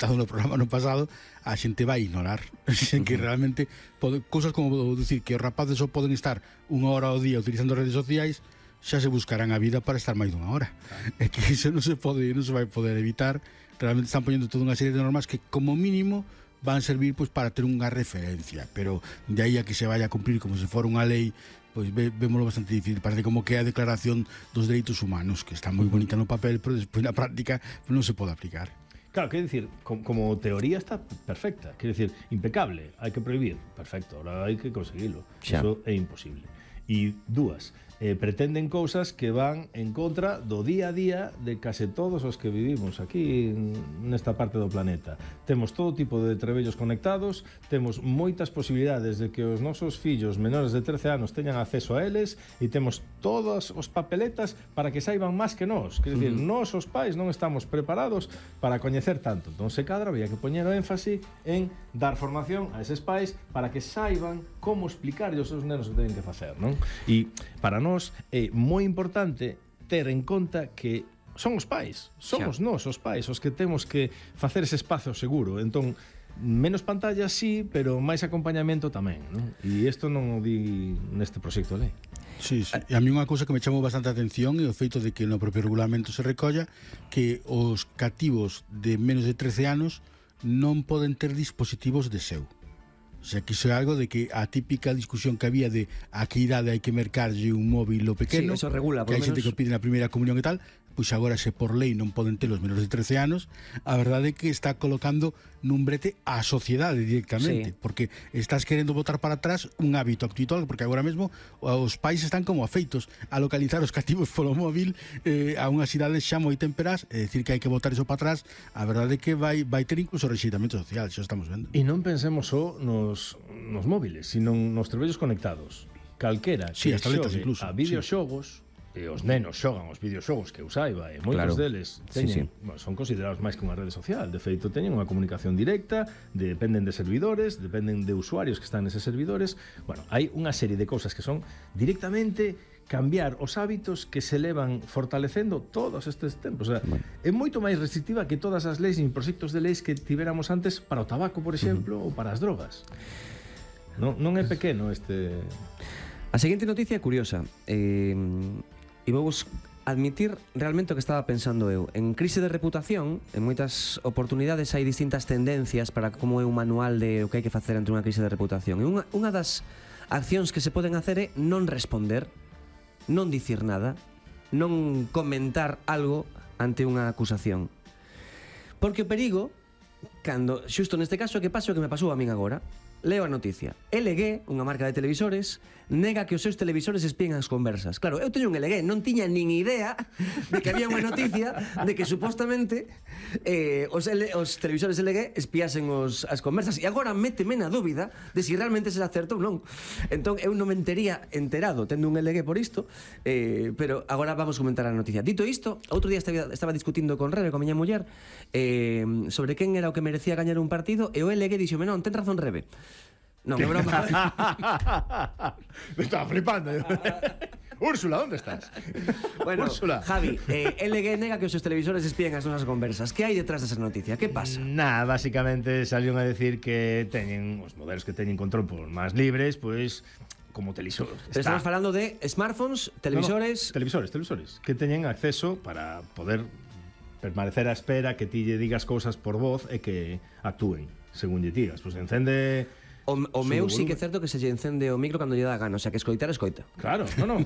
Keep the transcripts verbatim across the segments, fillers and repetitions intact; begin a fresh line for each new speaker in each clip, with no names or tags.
no programa no pasado, a xente vai ignorar que realmente pode, cousas como dicir que os rapaces só poden estar unha hora ao día utilizando redes sociais, xa se buscarán a vida para estar máis dunha hora. É que iso non se pode, non se vai poder evitar. Realmente están poñendo toda unha serie de normas que como mínimo van a servir pois para ter unha referencia, pero de aí a que se vaya a cumprir como se fora unha lei, pois ve, vémoslo bastante difícil. Parece como que é a Declaración dos Dereitos Humanos, que está moi bonita no papel, pero despois na práctica non se pode aplicar.
Claro, quero dicir, como, como teoría está perfecta, quero dicir, impecable, hai que prohibir, perfecto, ahora hai que conseguilo, eso é imposible. E dúas, eh, pretenden cousas que van en contra do día a día de case todos os que vivimos aquí nesta parte do planeta. Temos todo tipo de trebellos conectados, temos moitas posibilidades de que os nosos fillos menores de trece anos teñan acceso a eles e temos todas os papeletas para que saiban máis que nós. Quer dicir, uh -huh. nós os pais non estamos preparados para coñecer tanto. Entón, se cadra, había que poñer o énfase en dar formación a eses pais para que saiban como explicar aos seus nenos que teñen que facer, non? E para nós é moi importante ter en conta que son os pais, somos nós os pais os que temos que facer ese espazo seguro. Entón, menos pantallas sí, pero máis acompañamento tamén, non? E isto non o di neste proxecto de lei.
Sí, sí. E a mí unha cousa que me chamou bastante a atención é o feito de que no propio regulamento se recolla que os cativos de menos de trece anos non poden ter dispositivos de seu. O sea, que iso é algo de que a típica discusión que había de a que idade hai que mercarlle un móvil o pequeno,
sí, eso regula,
que hai xente que o pide na primeira comunión e tal, pois agora se por lei non poden ter os menores de trece anos, a verdade é que está colocando nun brete a sociedade directamente, sí. porque estás querendo botar para atrás un hábito actual, porque agora mesmo os pais están como afeitos a localizar os cativos polo móvil eh, a unhas idades xa moi temperas, é dicir que hai que botar eso para atrás. A verdade é que vai, vai ter incluso rexeitamento social, xa estamos vendo.
E non pensemos só nos, nos móviles, sino nos trebellos conectados. Calquera que
sí,
xogue
incluso,
a videoxogos, sí. E os nenos xogan os videoxogos que eu saiba, e moitos claro. deles teñen, sí, sí. Bueno, son considerados máis que unha rede social. De feito, teñen unha comunicación directa, dependen de servidores, dependen de usuarios que están neses servidores. Bueno, hai unha serie de cousas que son directamente cambiar os hábitos que se levan fortalecendo todos estes tempos. O sea, bueno. é moito máis restrictiva que todas as leis e proxectos de leis que tiveramos antes para o tabaco, por exemplo, uh -huh. ou para as drogas. Non, non é pequeno este...
A seguinte noticia é curiosa. Eh... E vou admitir realmente o que estaba pensando eu. En crise de reputación, en moitas oportunidades hai distintas tendencias para como é un manual de o que hai que facer ante unha crise de reputación. E unha, unha das accións que se poden hacer é non responder, non dicir nada, non comentar algo ante unha acusación. Porque o perigo, cando, xusto neste caso, que pasa o que me pasou a min agora, leo a noticia. L G, unha marca de televisores, nega que os seus televisores espíen as conversas. Claro, eu teño un L G, non tiña nin idea de que había unha noticia de que supostamente eh, os, L, os televisores L G espiasen os, as conversas. E agora méteme na dúbida de si realmente será certo ou non. Entón, eu non me entería enterado tendo un L G por isto, eh, pero agora vamos comentar a noticia. Dito isto, outro día estaba, estaba discutindo con Rebe, con miña muller, eh, sobre quen era o que merecía gañar un partido, e o L G dixome, non, ten razón Rebe. Non, é broma.
Me estaba flipando. Úrsula, ¿dónde estás?
Bueno,
Úrsula.
Javi, eh, L G nega que os seus televisores espíen as nosas conversas. Que hai detrás desa noticia? Que pasa?
Nada, basicamente salieron a decir que teñen os modelos que teñen control por máis libres, pois como televisores.
Estamos falando de smartphones, televisores...
No, no, televisores, televisores, que teñen acceso para poder permanecer á espera que ti lle digas cousas por voz e que actúen según lle digas. Pois encende...
O, o meu sí que é certo que se lle encende o micro cando lle dá gana, o sea, que escoitar, escoita.
Claro, non, non.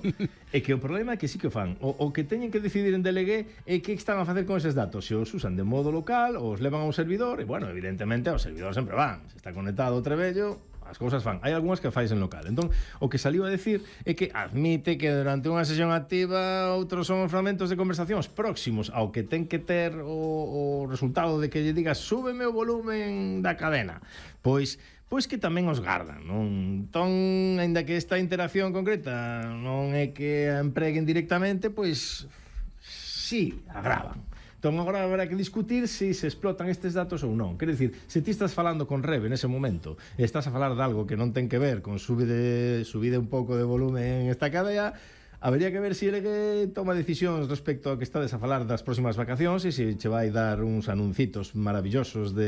É que o problema é que sí que o fan. O, o que teñen que decidir en D L G é que están a facer con eses datos. Se os usan de modo local, ou os levan a un servidor, e, bueno, evidentemente, os servidores sempre van. Se está conectado o trebello, as cousas fan. Hai algunhas que fais en local. Entón, o que saliu a decir é que admite que durante unha sesión activa outros son os fragmentos de conversacións próximos ao que ten que ter o, o resultado de que lle digas súbeme o volumen da cadena. Pois pois que tamén os gardan, non? Entón, aínda que esta interacción concreta non é que a empreguen directamente, pois sí, agravan. Entón, agora habrá que discutir se si se explotan estes datos ou non. Quer dicir, se ti estás falando con Rebe nese momento e estás a falar de algo que non ten que ver con subide, subide un pouco de volumen en esta cadea, habería que ver se ele que toma decisións respecto a que estades a falar das próximas vacacións e se che vai dar uns anuncitos maravillosos de